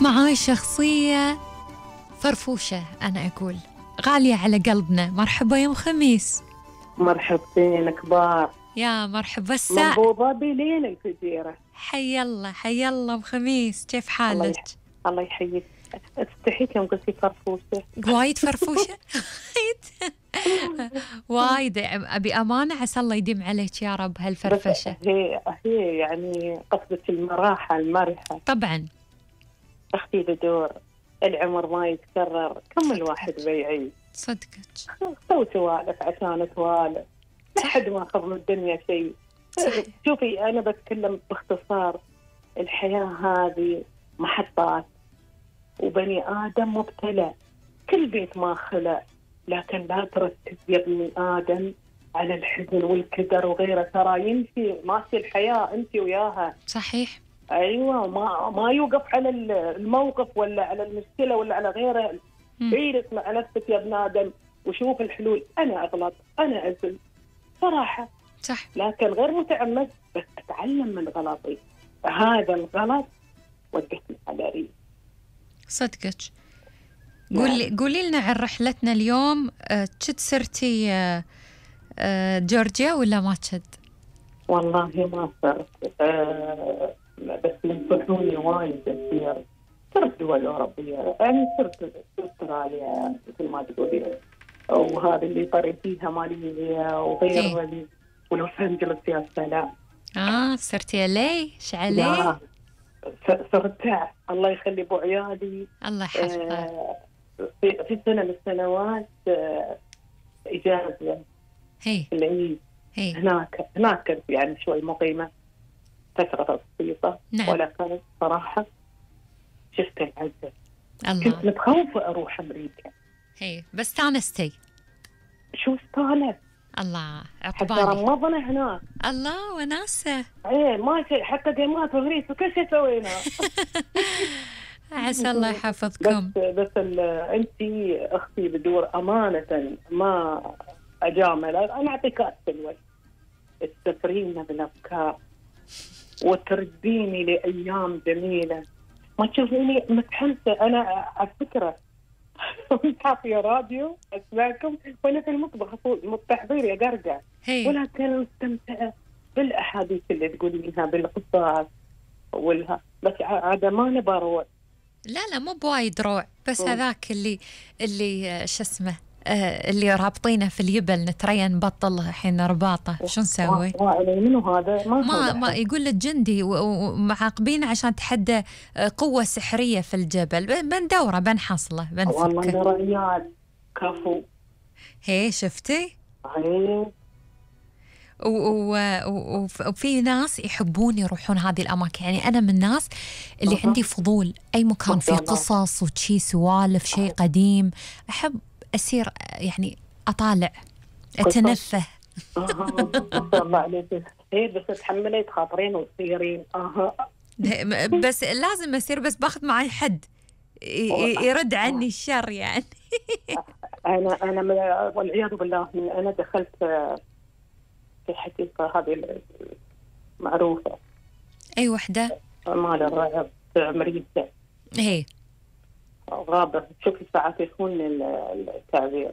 معاي شخصية فرفوشة، أنا أقول غالية على قلبنا. مرحبا يا أم خميس. مرحبتين كبار. يا مرحبا منبوضة بليل الفجيرة. حي الله حي الله أم خميس، كيف حالك؟ الله يحييك. استحيت يوم قلتي فرفوشة. وايد فرفوشة. وايد أبي أمانة، عسى الله يديم عليك يا رب هالفرفشة. هي يعني قصدك المراحة المرحة. طبعا أختي بدور العمر ما يتكرر، كم الواحد بيعيش. صدقك. سوي سوالف عشان توالف، لا حد ما أخذ من الدنيا شيء. شوفي أنا بتكلم باختصار، الحياة هذه محطات، وبني آدم مبتلى، كل بيت ما خلق، لكن لا تركز يا ابني آدم على الحزن والكدر وغيره، ترى يمشي ماشي الحياة أنت وياها. صحيح. أيوة، ما يوقف على الموقف ولا على المشكلة ولا على غيره. عيرك مع نفسك يا ابن آدم وشوف الحلول. أنا أغلط، أنا أزل صراحة، صح، لكن غير متعمد، بس أتعلم من غلطي. هذا الغلط وقفني على ريق. صدقك. قولي لنا عن رحلتنا اليوم. كنت سرتي جورجيا ولا ما كنت؟ والله ما صرت، بس ينصحوني وايد كثير. صرت دول أوروبية، يعني صرت أستراليا مثل ما تقولين، وهذا اللي طري فيها ماليزيا وغير ولوس أنجلوس. يا سلام. صرتي لي شعلي. صرت الله يخلي ابو عيالي، الله يحفظه. في سنة من السنوات إجازة في العيد. هناك كنت يعني شوي مقيمة فترة بسيطة. نعم. ولكن صراحة شفت العزة. الله. كنت متخوفة أروح أمريكا. بس استانستي. شو استانست. الله حتى رمضنا هناك. الله وناسة. ما شيء، حتى جيمات وغريس وكل شيء سوينا. عسى الله يحفظكم. بس أنتي أختي بدور أمانة، ما أجامل، أنا أعطيك الوجه. تسفرينا بالأفكار وترديني لأيام جميلة، ما تشوفيني متحمسة. أنا على فكرة حاطية راديو أسمعكم وأنا في المطبخ متحضير يا قرقع، ولكن مستمتعة بالأحاديث اللي تقولينها، بالقصص والها. بس عاد ما نبى روع. لا مو بوايد روع، بس هذاك اللي شو اسمه، اللي رابطينه في اليبل نترين نبطل الحين رباطه. شو نسوي؟ منو هذا؟ ما يقول لك جندي ومعاقبين عشان تحدى قوة سحرية في الجبل. بندوره بنحصله بنفكه. والله أنا ريال كفو. شفتي؟ هي. وفي ناس يحبون يروحون هذه الأماكن. يعني أنا من الناس اللي عندي فضول أي مكان فيه قصص وشي سوالف شيء قديم، أحب أسير يعني أطالع أتنفه. الله عليك. بس تحملي تخاطرين وتصيرين. بس لازم أسير، بس باخذ معي حد يرد عني الشر يعني. أنا والعياذ بالله أنا دخلت في حقيقة هذه معروفة. أي وحدة؟ مال الرعب في أمريكا. غابة. شوفي ساعات يكون التعبير.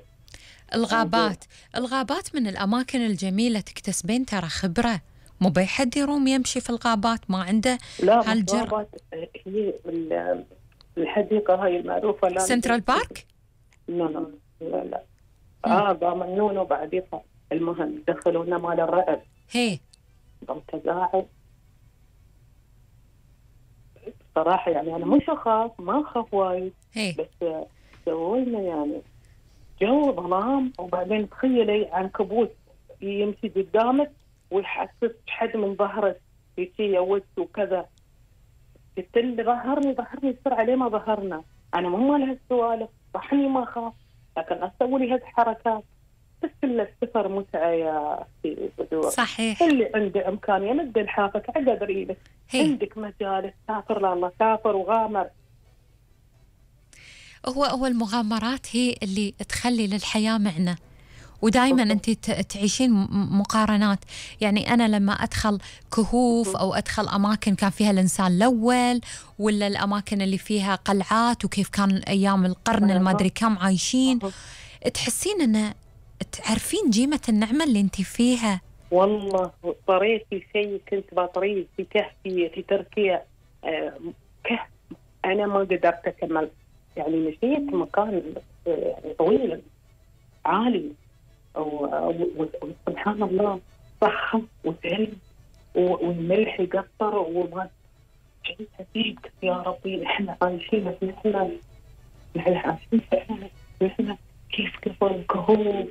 الغابات من الأماكن الجميلة، تكتسبين ترى خبرة. مو بأي حد يروم يمشي في الغابات ما عنده هالجرأة. هي الحديقة هاي المعروفة. لا سنترال بارك؟ لا ضامنونه بعد يطلع. المهم دخلونا مال الرعب. متزاعد صراحة. يعني أنا مش ما أخاف وايد، بس سوينا يعني جو ظلام، وبعدين تخيلي عنكبوت يمشي قدامك ويحسس حد من ظهرك يجي يوت وكذا. قلت له ظهرني بسرعة. ليه ما ظهرنا؟ أنا مو مال هالسوالف، صحني ما أخاف، لكن أسوي لي هالحركات. بس السفر متعة يا أختي بدور. صحيح. اللي عنده إمكانية مد لحافك عقد ريلك. عندك مجال سافر لله، سافر وغامر. هو المغامرات هي اللي تخلي للحياة معنى، ودائما أنت تعيشين مقارنات. يعني أنا لما أدخل كهوف أو أدخل أماكن كان فيها الإنسان الأول، ولا الأماكن اللي فيها قلعات وكيف كان أيام القرن المدري كم عايشين، تحسين أن تعرفين قيمة النعمة اللي أنت فيها. والله طريت في شيء كنت بطريه في كهف في تركيا، كهف أنا ما قدرت أكمل، يعني مشيت مكان طويل عالي وسبحان الله صخر وثلج والملح يقطر وما شيء عجيب. يا ربي احنا عايشين، احنا عايشين، احنا كيف الكهوف